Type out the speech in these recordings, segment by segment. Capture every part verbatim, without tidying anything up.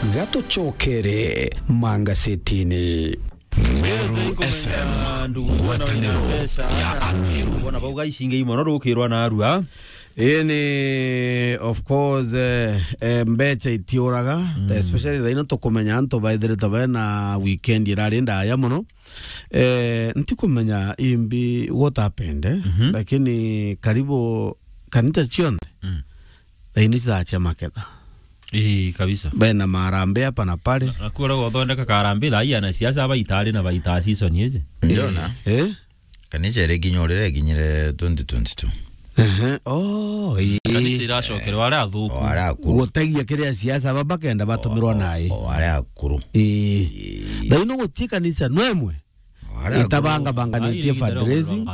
Gatucokere mangasetini. Meru F M, ngwataniro ya Ameru. Bona bauga icinge imono rukirwa na arua. Ini, of course, eh, eh, mbeca itiuraga, especially thaino tukumenya antu baithirite bena weekend irari ndaya mono. Eh, ntikumenya imbi what happened, eh? Lakini karibu kanisa cionthe, thaino cithaa cia maketha. Ii, kabisa. Bena marambe hapa na pale. Na, na kuura guthondeka karambe thaa ii ana siasa aba itari na baita season iji. Ndiona. Eh? Kanisa iri kinya urire kinyire twenty twenty-two. Ehe. Oh, ii. Kanisa iracokerwa aria athuku. O aria akuru. Gutegia kiria siasa baba kenda batumirwa nai. O aria akuru. Ii. Ii. Thaino guti kanisa nwemwe. Itabanga banganitie fundraising.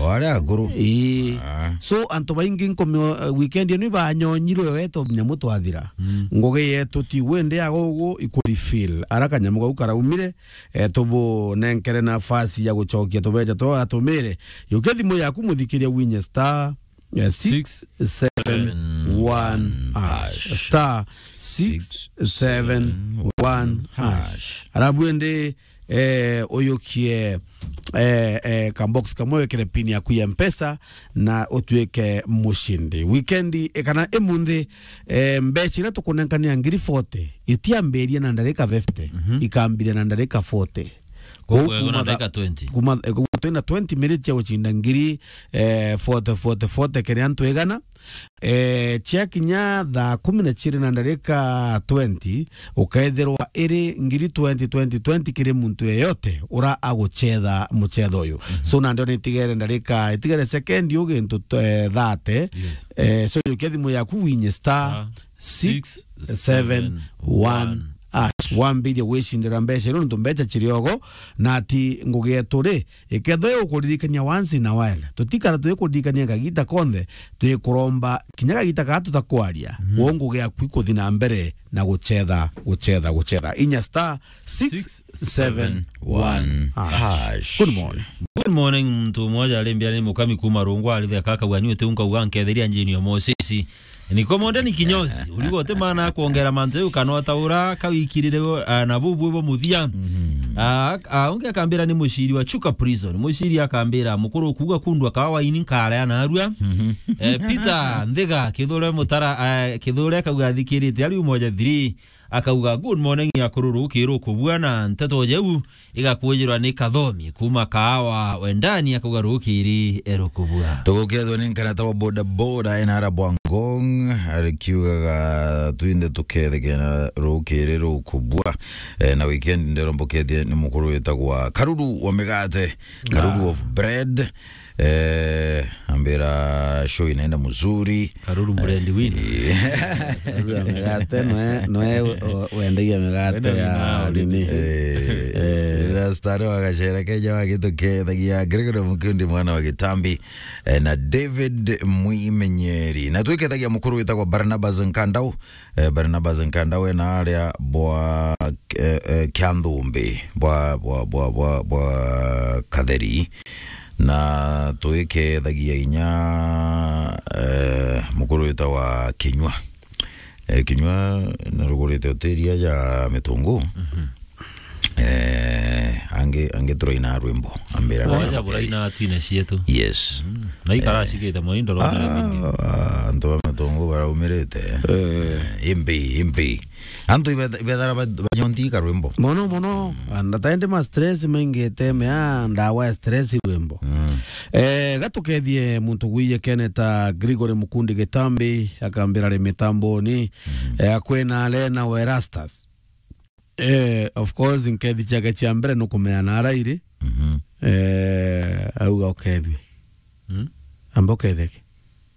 O aria akuru. Ii. Ah. So, antu baingi nkomi, uh, weekend ino ibanyonyirwe weto nyamu twathira. Ngugi yetu ti wende ya gugu ikuri feel. Ara kanyamu kau karaumire, eh, tubunenkere nafasi ya gucokia tubeca twa atumire. Yukia thimu yaku muthikiria winye star eh, six seven one hash. Star six seven one hash. Arabu ende, eh, uyukie, eh, eh, ka box kamwe wekere pin yaku ya Mpesa na utuike mushindi. Weekend, eh, kana imunthi, eh, mbeca iria tukunenkania ngiri forty, itiambiria na ndarika fifty, ikambiria na ndarika forty. Koguo kuma ndagika twenty. Kuma, eh, koguo twina twenty minutes ya gucinda ngiri, eh, forty, forty, forty kiri antu igana. Eh, ciakinya thaa kumi na ciiri na ndarika twenty, ukeethirwa iri ngiri twenty, twenty, twenty kiri muntu yeyote ura agucetha mucetho uyu. So, nandi ona itigere ndarika, itigere sekendi u gintu, eh, thirty. Eh, so, yukia thimu yaku winye star six seven one hash. Wambiririe gwicindira mbeca iria nontu mbeca ciri ogo, na ati ngugi yetu ri, ikethwa igukuririkania once in a while. Tutikara twikuririkania kagita konthe, twikuromba kinya kagita kaa tutakwaria. Wo ngugi yaku ikuthi na mbere na gucetha, gucetha, gucetha. Inya star six seven one hash. Good morning. Good morning, muntu mmoja alimbia ni mukami kuma Rungwa, alithia kaka wani uti unkauga nketheria njini ya Moses. Niko monde ni kinyozi, uligo te maana ya kuongera mantu yu kana utaura kawikirire, ah, na bubu bo muthia. Ah, ah, ungi akambira ni muciri wa Chuka Prison. Muciri akambira mukuru kuuga kundwa kawa ini nkara ya narua. Eh, Peter Nthiga, Kithure Mutara, eh, Kithure akauga athikirite ari umoja three. Akauga, "Good morning, akuru rukiru kubua na nteto jeu." Igakujirwa ni Kathomi kuma Kaawa Wendani, akauga rukiri erukubua. Tugukethwa ni nkarata wa boda boda enara Bwangong, arikiugaga twinde tukethekena rukiri rukubua. Eh, na weekend ndero mbukethie ni mukuru witagwa Karuru wa Migate, Karuru of Bread. Eh, ambira show inaenda mzuri. Karuru bread win. Eh. Karuru ya migate, noe, noe, o-, wendagia migate ya nini? Eh, eh. Rasta ro agacera Kenya wagitukeethagia Gregory Mukundi mwana wa Gitambi, eh, na David Mwimenyeri. Na twikethagia mukuru witagwa Barnabas Nkandau. Eh, Barnabas Nkanda we na aria bwa, eh, eh, Kianthumbi, bwa, bwa, bwa, bwa, bwa Katheri. Na twikethagia inya, eh, mukuru witagwa Kinyua. Eh, Kinyua narugurite hoteria ja Mitungu. Eh, angi, angi turaina rwimbo, ambira. Oja nayo buraina twine cietu. Yes. Mm. Na ikara, eh, cigite mwindo rwa, ah, mimi. Ah, antu ba Mitungu baraumirite. Eh. Eh, imbi, imbi. Antu ibe-, ibethara ba-, banyonti ka rwimbo. Mono, mono. Ndataende ma stress maingi teme, ah, ndawa ya stress rwimbo. Mm. Eh, gatukethie muntu gwiye keneta Gregory Mukundi Gitambi, akambira ri mitamboni. Mm. Eh, akwena Lena Werastas. Eh, of course, nkethi ciake cia mbere nukumenya na arairi. Mhm. Eh, auga ukethwe. Mm. Amba uketheke.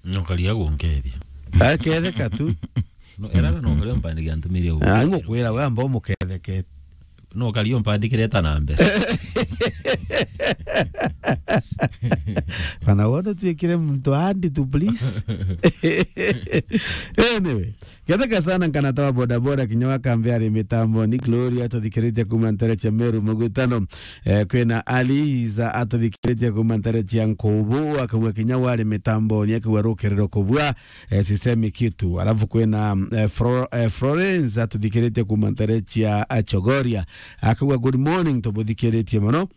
No karia gunkethia. Aketheka tu. No, era no karia mpandikia ntumiria. Ah, ngukwira we amba umuketheke. No karia mpandikire ta na mbere. Kana wono tuikire muntu andi tu, please. Anyway, ketheka sana nkanata wa bodaboda kinya wa kambi ari mitamboni. Gloria atuthikiritie kuma ntere cia Meru Mugutano. Eh, kwina Aliza atuthikiritie kuma ntere cia Nkubu, akauga kinya wari mitamboni, akauga rukerero kubua, eh, sisemi kitu. Alafu kwina, eh, Fro-, eh, Florence atuthikiritie kuma ntere cia, eh, Chogoria, akauga, "Good morning, tubuthikiritie mono."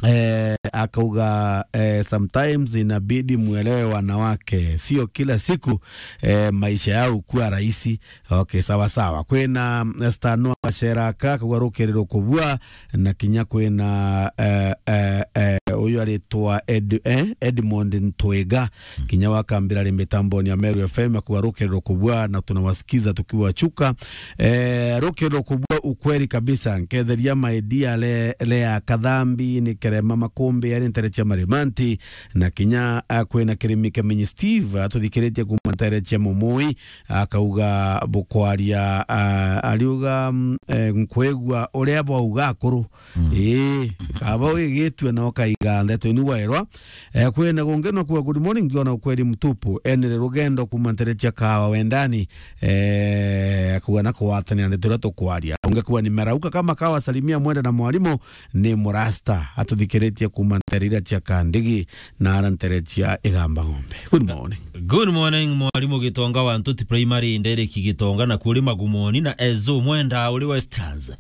Eh, akauga, eh, sometimes inabidi muelewe wanawake, sio kila siku, eh, maisha yao kuwa rahisi. Okay, sawa sawa. Kwina, eh, Stanua Gaceraka, akauga rukerero kubua, na kinya kwina, eh, eh, eh, uyu aritwa Ed-, eh, Edmond Ntwiga, kinya wakambira ri mitamboni ya Meru F M, akauga rukerero kubua na tunawasikiza tukiwa Chuka. Eh, rukerero kubua ukweli kabisa. Nketheria my dear le, Lea Kathambi, ni Kerema Makumbi, ari ntere cia Marimanti, na kinya, ah, kwina Kirimi Kemenyi Steve, atuthikiritie kuma ntere cia Mumui, akauga bukwaria, ah, ariuga, mm, eh, nkwigua uria bwauga akuru. Mm. Ii, kaba wigitue na ukaiga ndeto inu waerwa. Eh, kwina gungi no kuga, "Good morning, ngiona ukweli mtupu. Enere rugendo kuma ntere cia kawa wendani." Eh, kuga na kugwatanira ndeto iria tukwaria. Ungi kuga, "Nimerauka kama kawa, salimia mwende na mwalimu ni murasta." Atuthikiritie kuma ntere iria cia Kandigi na ara ntere cia Igamba Ng'ombe. Good morning. Good morning, mwalimu Gitonga wa Ntuti Primary, Ndereki Gitonga na kuri Magumoni na Ezo Mwenda uri Westlands.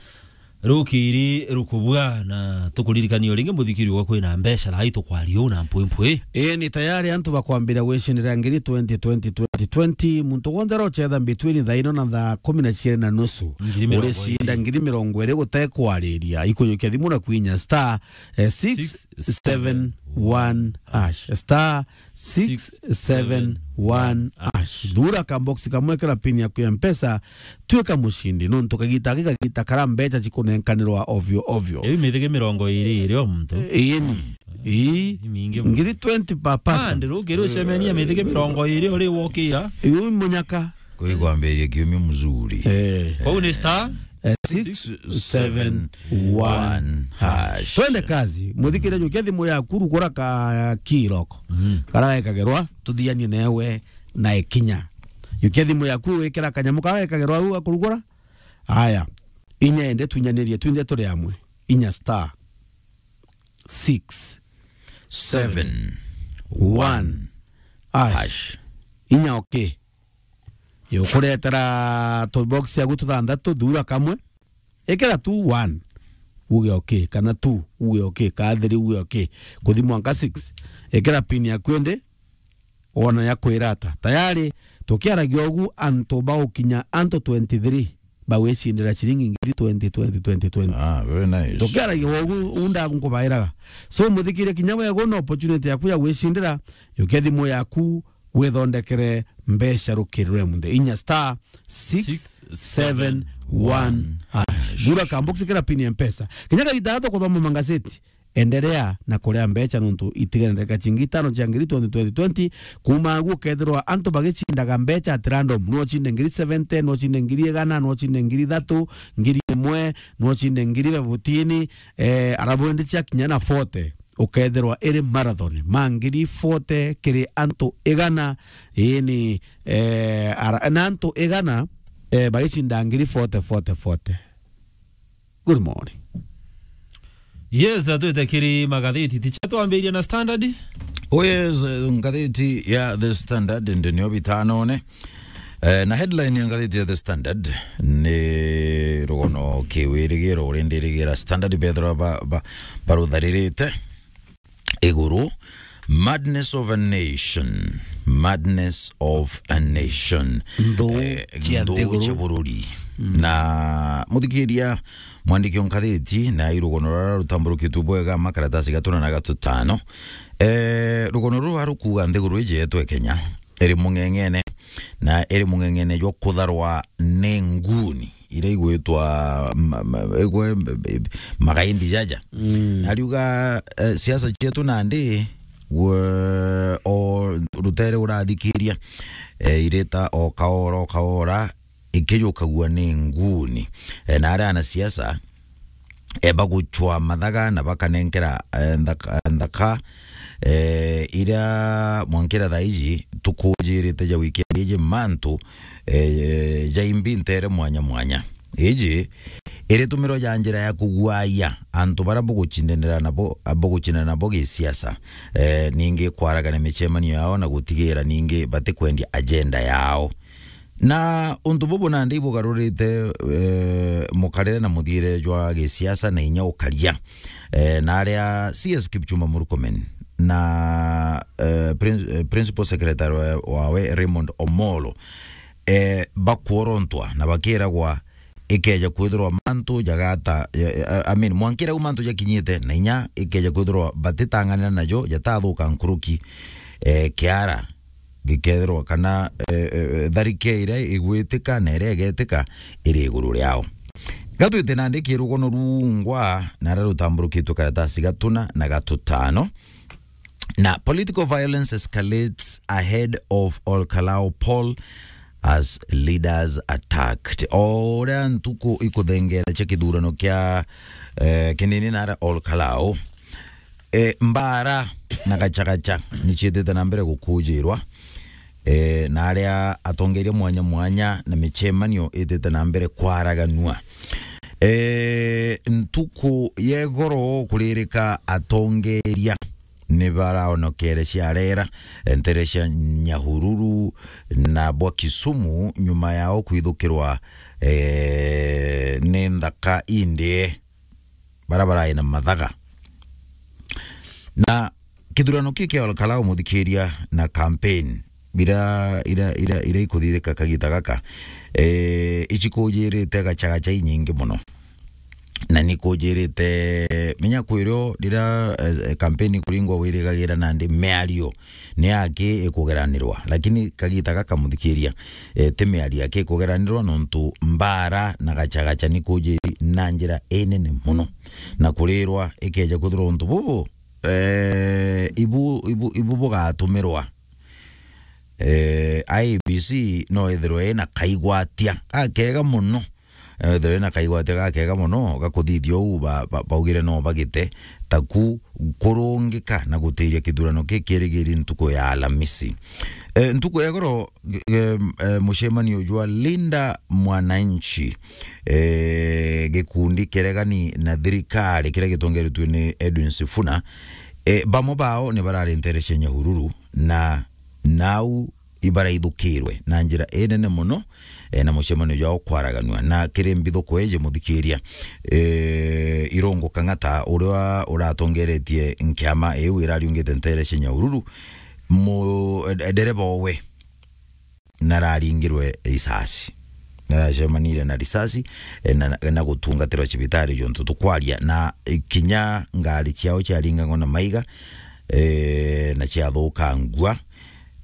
Rukiri rukubua na tukuririkania ringi muthikiri wa kwina mbeca rai tukwaria uu na mpwimpwi. Ii, ni tayari antu bakwambira gwicindira ngiri twenty twenty twenty twenty. Muntu wonthe arocetha between thaa ino na thaa kumi na ciiri na nusu, ngiri mirongo iri, uricinda ngiri mirongo iri gute kwariria. Ikujukia thimu na kwinya star, eh, six seven one hash. Star six seven one hash. Thura ka box kamwe, kira pin yaku ya Mpesa, tuika mucindi. Nontu kagita gaki kagita kara mbeca cikunenkanirwa ovyo ovyo. Riu mithige mirongo iri iri o muntu. Ii ni. Ii. Ni mingi muno. Ngiri twenty per person. Ah, ndiru, ngiru cemenia mithige mirongo iri uri wokira. Iu munyaka. Kwi kwambiriria kiumia mzuri. Eh. Kwou ni star? Eh, six seven one hash. Twende kazi. Muthikire, jukia thimu yaku, rugura ka kiroko. Mm. Kara gekagerwa, tuthianie newe na ikinya. Jukia thimu yaku, wikira kanyamu kara gekagerwa au akurugura. Aya. Inya ende tunyanirie, twinthe turi amwe. Inya star six seven one hash. Inya okay. Yukuretera tu box yaku tuthanthatu, thura kamwe. Ikira tu one, uge okay, kana two, uge okay, kana three, uge okay. Kuthi mwanka six. Ikira pin yaku indi, wona ya kwira ata. Tayari, tukiaragia ugu, antu baukinya antu twenty-three bagwicindira ciringi ngiri twenty, twenty, twenty, twenty. Ah, very nice. Tukiaragia ugu, unda nkubairaga. So, muthikire kinya wego na opportunity yaku ya gwicindira, yukia thimu yaku, withondekere mbeca rukiri rwe munthe. Inya star six seven one hash. Thura ka box, ikira pin ya Mpesa. Kinya kagita gato kuthoma mangazeti. Endelea na kuria mbeca nontu itigane ndagika cingi itano cia ngiri twenty twenty twenty. Kuma agu ukethirwa antu bagicindaga mbeca at random. No ucinde ngiri seventy, no ucinde ngiri igana, no ucinde ngiri ithatu, ngiri imwe, no ucinde ngiri fifteen, eh, arabu indi cia kinya na forty. Ukethirwa iri marathon ma ngiri forty kiri antu igana, ini, eh, ara-, na antu igana, eh, bagicinda ngiri forty, forty, forty. Good morning. Yes, atwite kiri magatheti, ticha twambiria na Standard? Oh yes, eh, ngatheti ya The Standard ndi nio bitanone. Eh, na headline ya ngatheti ya The Standard ni rugono kiwirigiro uria ndirigira Standard bethirwa ba, ba, barutharirite iguru. Madness of a nation. Madness of a nation. Nthu, eh, cia nthu nthiguru, cia bururi. Mm. Na muthikiria, mwandiki o ngatheti na irugono rara rutamburukitwe bwega makaratasi gatuna na gatutano. Eh, rugono ruru arukuga nthiguru iji yetu e Kenya iri mung'eng'ene, na iri mung'eng'ene jwa kutharwa ni nguni iria igwitwa ma-, ma-, igwe, magaindi jaja. Mm. Ariuga, eh, siasa cietu nandi, gwe, o rutere urathikiria, eh, irita o kaora, o kaora, ikijukagua ni nguni. Eh, na aria anasiasa, e, bagucwa mathaga na bakanenkera, e, nthaka, nthaka, e, iria mwankira thaa iji tukujirite ja weekend iji mantu, e, ja imbi ntere mwanya mwanya. Iji iritumirwa ja njira ya kuguaia antu bara bugucindanira nabo, bugucindana nabo gisiasa, e, ningi kwaragania micemanio yao na gutigira ningi batikwendia agenda yao. Na untu bubu nandi ibugarurite, e, mukarire na muthiire jwa gisiasa na inya ukaria. E, na aria C S Kipchumba Murkomen na, e, prin-, e, Principal Secretary wa-, wawe Raymond Omolo, e, bakworontwa na bakiragwa ikeja kwithirwa mantu jagata, e, e, I mean, mwankira u mantu jakinyite na inya ikeja kwithirwa batitang'anira najo jatathuka nkuruki, e, kiara gikethirwa kana, e, e, e, tharike iria igwitika na iria igetika iri iguru riao. Gatwite nandi kirugono rungwa na aria rutamburukitwe karatasi gatuna na gatutano. Na political violence escalates ahead of Ol Kalou poll as leaders attacked. O uria ntuku ikuthengera cia kithurano kia, eh, kinini na aria Ol Kalou, e, mbara na gachagacha ni ciitite na mbere gukujirwa, e, na aria atongeria mwanya mwanya na micemanio itite na mbere kwaraganua. E, ntuku ya igoro kuririka atongeria ni baraonokere ciarera, e, ntere cia Nyahururu na bwa Kisumu nyuma yao kwithukirwa, e, ni nthaka indie bara barai na mathaga. Na kithurano kiki kia Ol Kalou muthikiria na campaign ira, ira, ira, ira ikuthithika kagita gaka, e, icikujirite gachagacha inyingi muno. Na ni kujirite, menya kwirio rira, e, e, campaign ikuringwa wirigagira nandi miario ni aki ikugeranirwa, lakini kagita gaka muthikiria, e, ti miario aki ikugeranirwa, nontu mbara na gachagacha ni kujiri na njira inene muno, na kurirwa ikeja kwithirwa untu bubu, e, ibu, ibu, ibu bugatumirwa, e, I E B C no ithirwe ina kaigwatia gakega muno. Ethirwe na kaigwatia gakega muno gakuthithia uu ba-, ba-, baugire no bagite taku kurungika na gutiria kithurano kikirigiri ntuku ya Alamisi. E, ntuku ya igoro, e, e, mucemanio jwa Linda Mwananchi, e, gikundi kiregani na thirikari kiria gitongeretue ni Edwin Sifuna, e, bamwe bao ni barari ntere cia Nyahururu na nau ibaraithukirwe na njira inene muno, e, na mucemanio jwao kwaraganua. Na kiri mbithuko iji muthikiria, e, Irungu Kang'ata uria uratongeretie nkiama iu irariungite ntere cia Nyahururu, mu-, e, ndereba owe nararingirwe risasi. Naracemanire na risasi, e, na, na gutungatirwa cibitari jontu tukwaria, na, e, kinya ngari ciao ciaringagwa na maiga, e, na ciathukangua.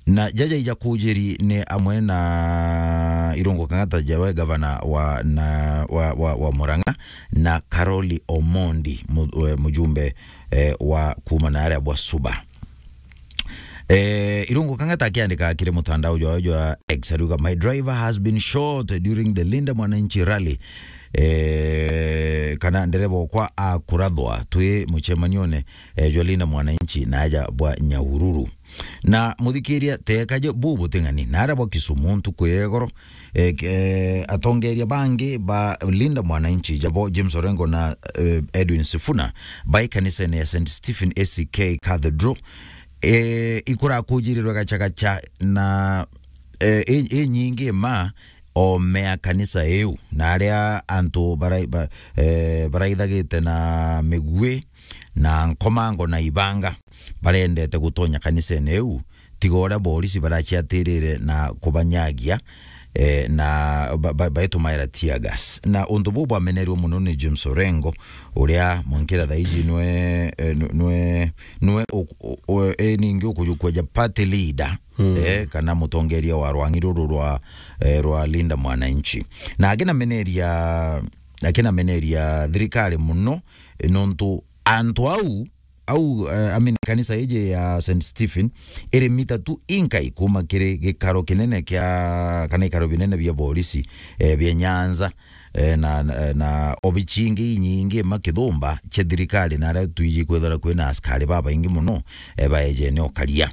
Na jaja ija kujiri ni amwe na Irungu Kang'ata jawe gavana wa, na, wa, wa, wa Murang'a, na Karoli Omondi, mu-, e, mujumbe, e, wa kuuma na aria bwa Suba. E, Irungu Kang'ata akiandika kiri mutandao jwawe jwa X, ariuga, "My driver has been shot during the Linda Mwananchi rally." E, kana ndereba okwa akurathwa twi mucemanione, e, jwa Linda Mwananchi na aja bwa Nyahururu. Na muthikiria, teka je bu buting'ani, na aria bwa Kisumu ntuku ya igoro, e, k-, e, atongeria bangi ba Linda Mwananchi, jabo James Orengo na, e, Edwin Sifuna, bai kanisene ya Saint Stephen A C K Cathedral, e, ikurakujirirwe gachagacha na, e, i-, inyingi ma ome ya kanisa iu, na aria antu bara-, ba-, e, baraithagite na migui na nkomango na ibanga barendete gutonya kanisene iu, tiga uria borisi baraciatirire na kubanyagia, e, na ba-, ba-, baitumaira tear gas. Na untu buu bwamenerwe muno ni James Orengo, uria mwankira thaa iji nwe, e, nwe, nwe, nwe u-, u-, u-, e, ningi ukujukua ja party leader, e, kana mutongeria wa rwang'i ruru rwa, e, rwa Linda Mwananchi. Na akinameneria, akinameneria thirikari muno, e, nontu antu au au, eh, I mean, kanisa iji ya Saint Stephen iri mita tu inkai kuma kiri gikaro kinene kia, kana ikaro binene bia borisi, eh, bia Nyanza, eh, na, na, na obici ingi inyingi ma kithumba cia thirikari, na aria twiji kwithira kwina askari babaingi mono, eh, baejene ukaria.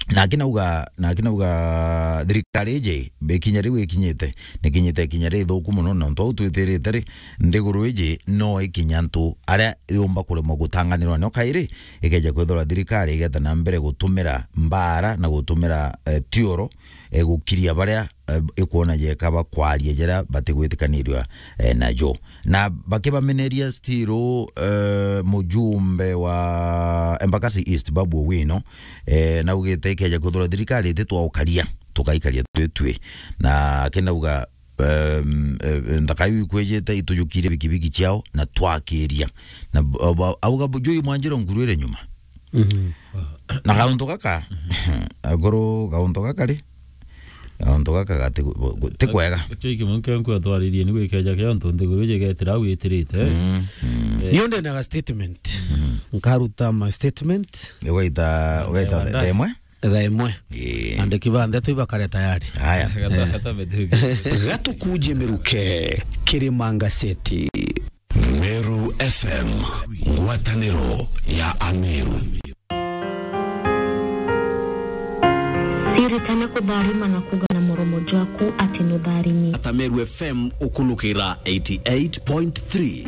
Naki nauga, naki nauga thirikari iji, ikinya riu ikinyite, nikinyite ikinya rithuku mono, na untu au twitirite ri, nthiguru iji no ikinya antu aria yumba kuremwa gutanganirwa nio kairi, ikeja kwithirwa thirikari igeta na mbere gutumira mbara na gutumira, eh, tioro, eh, gukiria baria, eh, ikwona jeka bakwaria jaria batigwitikanirua, eh, najo. Na bakibameneria still, eh, mujumbe wa Embakasi East, Babu Owino, eh, naugite ikeja kwithirwa thirikari ititwaukaria, tukaikaria twitwi. Na akinauga, em, eh, nthaka iu ikwijite itujukirie bikibiki ciao na twakiria. Na b-, ab-, auga bu-, Joy Mwanjiro nguru iri nyuma. Mhm. Na gauntu gaka, akuru gauntu gaka ri, gauntu gaka gati gu-, gu-, ti kwega. Kio iki munke nkwa twaririe ni gwikeja kio ntu nthiguru iji igetira au itirite. Mm, mm. Eh. Niu ndinaga statement. Mm. Nkaruta my statement. Ugaita, ugaita thaa imwe? Thaa imwe. Ii. Andiki ba ndeto ibakare tayari. Haya. Gata-, gata mete-. Gatukuje miruke, Kirima Ngaseti. Meru F M, ngwataniro ya Ameru. Siritana kutharima na kuga na muromo jwaku ati nutharimi. Ata Meru F M ukulukira eighty-eight point three.